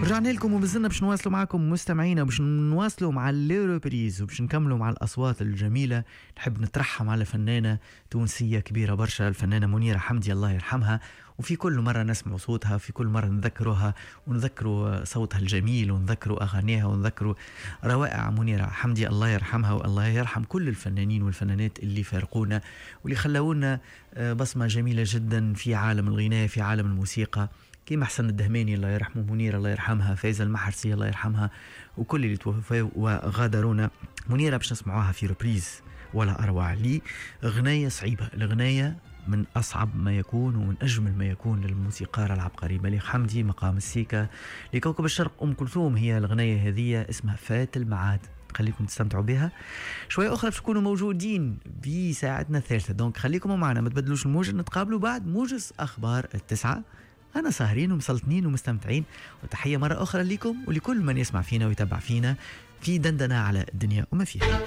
رجعنا لكم ومازلنا باش نواصلوا معكم مستمعينا، باش نواصلوا مع les reprises وباش نكملوا مع الاصوات الجميله. نحب نترحم على فنانة تونسية كبيرة برشا، الفنانة منيرة حمدي الله يرحمها. وفي كل مرة نسمع صوتها، في كل مرة نذكرها ونذكروا صوتها الجميل ونذكروا اغانيها ونذكروا روائع منيرة حمدي الله يرحمها، والله يرحم كل الفنانين والفنانات اللي فارقونا واللي خلونا بصمة جميلة جدا في عالم الغناء، في عالم الموسيقى، كيما حسن الدهماني الله يرحمه، منيرة الله يرحمها، فايزة المحرسي الله يرحمها، وكل اللي توفوا وغادرونا. منيرة باش نسمعوها في reprise ولا أروع لي غناية صعيبة، الغناية من أصعب ما يكون ومن أجمل ما يكون للموسيقار العبقري بليغ حمدي، مقام السيكا لكوكب الشرق أم كلثوم. هي الغناية هذه اسمها فات المعاد، خليكم تستمتعوا بها. شوية أخرى باش تكونوا موجودين بساعتنا الثالثة، donc خليكم معنا ما تبدلوش الموجة، نتقابلوا بعد موجز أخبار 9. أنا ساهرين ومسلطنين ومستمتعين، وتحية مرة أخرى لكم ولكل من يسمع فينا ويتابع فينا في دندنة على الدنيا وما فيها.